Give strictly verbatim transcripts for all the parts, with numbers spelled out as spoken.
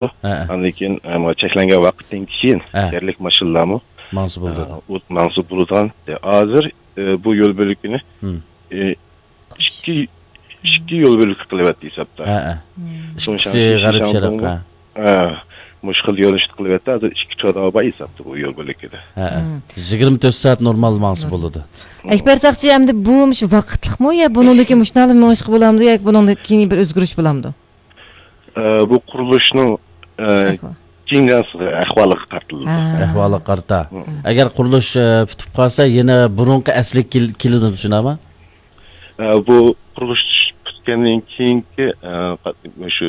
ھە، ھە. ئاندىن كېيىن، ئە، چەكلەنگەن ۋاقىتتىن كېيىن ھە. يەرلىك ماشىنىلارمۇ، ماڭسا بولىدۇ. ئە، ئۇ ماڭسا بولىدىغان. ھازىر، ئە، بۇ يول بۆلىكىنى، ھىم. ئە، ئىككى، ئىككى يول بۆلىكى قىلىۋەتتى ھېسابتا. ھە، ھە. مم. ئىككىسى غەرب شەرق، ھە. ھە، مۇشۇ خىل يۆنىلىشتە قىلىۋەتتى. ھازىر ئىككى تۇرا بار ھېسابتا بۇ يول بۆلىكىدە. ھە، ھە. مم. يىگىرمە تۆت سائەت نورمال ماڭسا بولىدۇ. ئەكبەر ساقچى، ئەمدى بۇ مۇشۇ ۋاقىتلىقمۇ يا بۇنىڭدىن كېيىن مۇشۇنداقلا مېڭىشقا بولامدۇ ياكى بۇنىڭدىن كېيىن بىر ئۆزگىرىش بولامدۇ؟ ئە، بۇ قۇرۇلۇشنىڭ، ئە، ئەھۋال. كېيىنكى ئەھۋالىغا قارىتىلىدۇ. ھە. ئەھۋالغا قارىتا. ھە. ئەگەر قۇرۇلۇش، ئە، پۈتۈپ قالسا، يەنە بۇرۇنقى ئەسلىگە كېل-، كېلىدۇ، شۇنداقمۇ؟ ئە، بۇ قۇرۇلۇش پۈتكەندىن كېيىنكى، ئە، قات-، شۇ،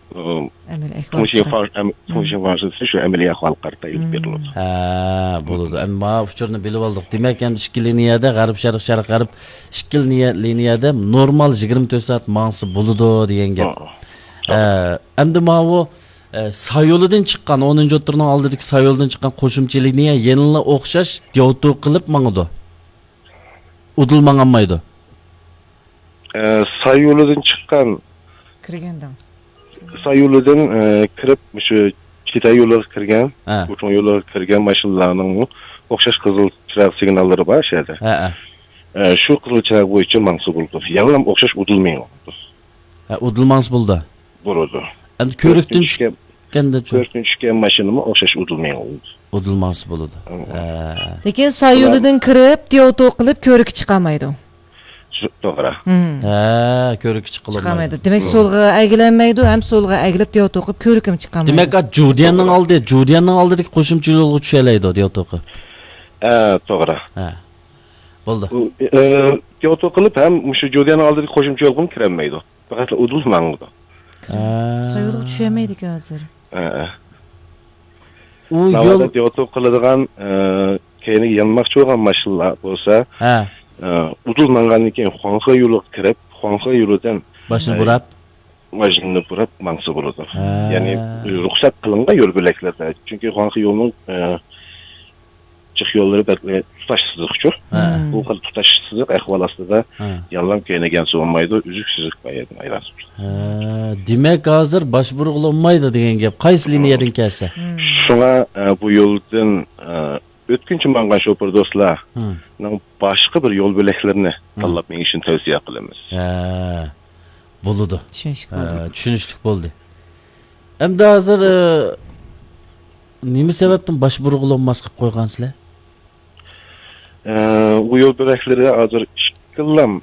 ئە، ئەمەلىي ئەھۋال. تۇڭشىڭ فاڭ-، ئەم-، تۇڭشىڭ فاڭشىسى شۇ ئەمەلىي ئەھۋالغا قارىتا ئېلىپ بېرىلىدۇ. ھە، بولىدۇ. ئەمما ئۇچۇرنى بىلىپ ئالدۇق. دېمەك، ئەمدى ئىككى لىنىيەدە، غەرب، شەرق، شەرق، غەرب، ئىككى لىنىيە، لىنىيەدە نورمال يىگىرمە تۆت سائەت ماڭسا بولىدۇ دېگەن گەپ. ھە. ئە، ئەمدى ماۋۇ، ئە، سايولىدىن چىققان، ئونىنچى ئوتتۇرىنىڭ ئالدىدىكى سايولىدىن چىققان قوشۇمچە لىنىيە يەنىلا ئوخشاش دياۋتو قىلىپ ماڭىدۇ. ئۇدۇل ماڭالمايدۇ. ئە، سايولىدىن چىققان، كىرگەندىن. سايولىدىن، ئە، كىرىپ، مۇشۇ چىتاي يولىغا كىرگەن، ھە. گۇچۇڭ يولىغا كىرگەن ماشىنىلارنىڭمۇ ئوخشاش قىزىل چىراغ سىگناللىرى بار شۇ يەردە. ھە، ھە. ئە، شۇ قىزىل چىراغ بويىچە ماڭسا بولىدۇ. يەنىلا ئوخشاش ئۇدۇل مېڭىدۇ. ھە، ئۇدۇل ماڭسا بولىدۇ. بولىدۇ. ئەمدى كۆۋرۈكتىن كۆۋرۈكتىن چۈشكەن، چۈشكەندە چۈ- كۆۋرۈكتىن چۈشكەن ماشىنىمۇ ئوخشاش ئۇدۇل مېڭىدۇ. ئۇدۇل ماڭسا بولىدۇ. ھە. ھە. لېكىن سايولىدىن كىرىپ، دياۋتو قىلىپ، كۆۋرۈككە چىقالمايدۇ. شۇ، توغرا. ھە، كۆۋرۈككە چىقالمايدۇ. چىقالمايدۇ. دېمەك، سولغا ئەگىلەلمەيدۇ، ھەم سولغا ئەگىلىپ، دياۋتو قىلىپ، كۆۋرۈككىمۇ چىقالمايدۇ. دېمەك، جۇديەننىڭ ئالدى، جۇديەننىڭ ئالدىدىكى قوشۇمچە يولغا چۈشەلەيدۇ، دياۋتو قىلىپ. ھە، توغرا. ھە. بولدى. ئۇ، ئە، دياۋتو قىلىپ ھەم مۇشۇ جۇديەننىڭ ئالدىدىكى قوشۇمچە يولغىمۇ كىرەلمەيدۇ. پەقەت ئۇدۇل ماڭىدۇ. ھە. سايولغا چۈشەلمەيدىكەن ھازىر. ھە، ھە. ئۇ ناۋادا يول دياۋتو قىلىدىغان، ئە، كەينىگە يانماقچى بولغان ماشىنىلار بولسا، ھە. ئە، ئۇدۇل ماڭغاندىن كېيىن خۇاڭخې يولىغا كىرىپ، خۇاڭخې يولىدىن، ماشىنا ئە، بۇراپ؟ ماشىنىنى بۇراپ ماڭسا بولىدۇ. ھە. يەنى رۇخسەت قىلىنغان يول بۆلەكلەردە. چۈنكى خۇاڭخې يولىنىڭ، ئە، جىق يوللىرى بەك تۇتاش سىزىقچۇ. ھە. بۇ خىل تۇتاش سىزىق ئەھۋال ئاستىدا ھە. يانلام كەينىگە يانسا بولمايدۇ، ئۈزۈك سىزىق بار يەردىن ئايلانسا بولىدۇ. ھە، دېمەك، ھازىر باش بۇرغىلى بولمايدۇ دېگەن گەپ. قايسى لىنىيەدىن كەلسە؟ شۇڭا، ئە، بۇ يولدىن، ئە، ئۆتكۈنچى ماڭغان شوپۇر دوستلارنىڭ باشقا بىر يول بۆلەكلىرىنى تاللاپ مېڭىشىنى تەۋسىيە قىلىمىز. ھە، بولىدۇ. چۈشىنىشلىك ھە، بولدى. چۈشىنىشلىك بولدى. ئەمدى ھازىر، ئە، نېمە سەۋەبتىن باش بۇرغىلى بولماس قىلىپ قويغانسىلەر؟ ئە، بۇ يول بۆلەكلىرى ھازىر ئىككىلام،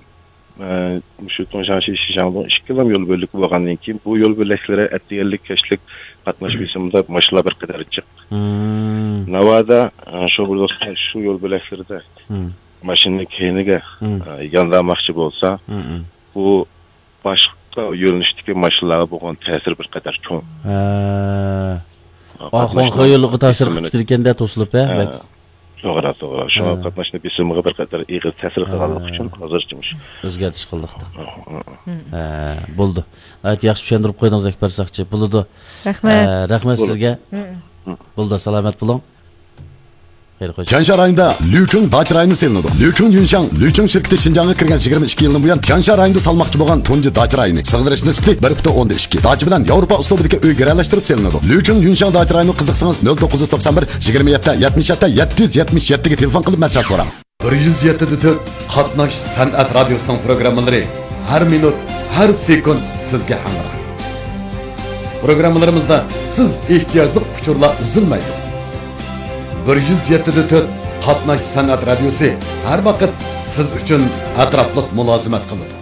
ئە، مۇشۇ تۇڭشاڭشى شىشاڭدىن ئىككىلام يول بۆلىكى بولغاندىن كېيىن، بۇ يول بۆلەكلىرى ئەتىگەنلىك، كەچلىك قاتناش بېسىمىدا ماشىنىلار بىر قەدەر جىق. مم. ناۋادا، ئە، شۇ بىر دوستلار شۇ يول بۆلەكلىرىدە مم. ماشىنىنى كەينىگە، مم. ئە، ياندارماقچى بولسا، مم، مم. بۇ باشقا يۆنىلىشتىكى ماشىنىلارغا بولغان تەسىرى بىر قەدەر چوڭ. ھە. ئا، خۇاڭخې يولىغا تەسىر قىلىپ كېتىدىكەن-دە، توسۇلۇپ، ھە، ھە. بەك. توغرا، توغرا. شۇڭا ھە. قاتناشنىڭ بېسىمىغا بىر قەدەر ئېغىر تەسىر قىلغانلىقى ھە. ئۈچۈن ھازىرچە مۇشۇ. ئۆزگەرتىش قىلدۇق. ھە، ھە. ھە، بولدى. ناھايىتى ياخشى چۈشەندۈرۈپ قويدىڭىز، ئەكبەر ساقچى. بولىدۇ. رەھمەت. ھە، رەھمەت سىزگە. ھە. بولدى، سالامەت بولۇڭ. خەير خوش. تيانشان رايونىدا لۈچۈڭ داچا رايونى سېلىنىدۇ. لۈچۈڭ يۈنشاڭ، لۈچۈڭ شىركىتى شىنجاڭغا كىرگەن يىگىرمە ئىككى يىلدىن بۇيان تيانشان رايونىدا سالماقچى بولغان تۇنجى داچا رايونى. سىغدۇرۇش نىسبىتى بىر پۈتۈن ئوندىن ئىككى. داچا بىلەن ياۋروپا ئۇسلۇبىدىكى ئۆي گىرەلەشتۈرۈپ سېلىنىدۇ. لۈچۈڭ يۈنشاڭ داچا رايونىغا قىزىقسىڭىز، نۆل توققۇز يۈز توقسان بىر، يىگىرمە يەتتە، يەتمىش يەتتە، يەتتە يۈز يەتمىش يەتتىگە تېلېفون قىلىپ مەسلىھەت سوراڭ. بىر يۈز يەتتە دە تۆت قاتناش سەنئەت رادىيوسىنىڭ پروگراممىلىرى ھەر مىنۇت، ھەر سېكۇنت سىزگە ھەمراھ. پروگراممىلىرىمىزدا سىز ئېھتىياجلىق ئۇچۇرلار ئۈزۈلمەيدۇ. بىر يۈز يەتتە دە تۆت قاتناش سەنئەت رادىيوسى ھەر ۋاقىت سىز ئۈچۈن ئەتراپلىق مۇلازىمەت قىلىدۇ.